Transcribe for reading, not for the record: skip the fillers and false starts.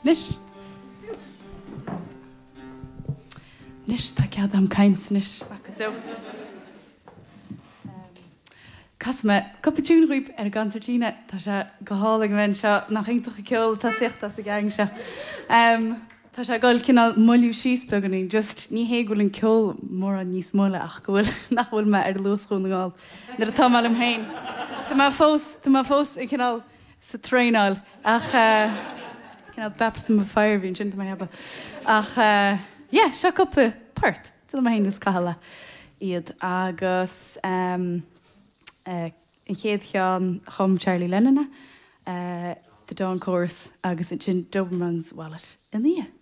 Anois. Anois tá cead a'm caint anois. Maith go deo. Casfaidh mé cúpla tiún dhaoibh ar an gconsairtín. Tá sé go hálainn a bheith anseo. Nach iontach an ceol atá ag tíocht as an gang seo. Tá sé ag dul cineál moilliú síos beagáinín. Just ní hé go bhfuil an ceol mórán níos moille ach go bhfuil nach bhfuil mé ar luas Dhún na nGall nuair atá mé liom féin. Tá mé fós tá mé fós ag cineál sa traenáil ach cineál baptism of fire a bhí ansin tá mé ag ceapadh. Ach yeah seo cúpla port. Déanfaidh mé féin agus Cathal iad agus an chéad cheann chum Charlie Lennon é, The Dawn Chorus agus ansin Doberman's Wallet ina dhiaidh.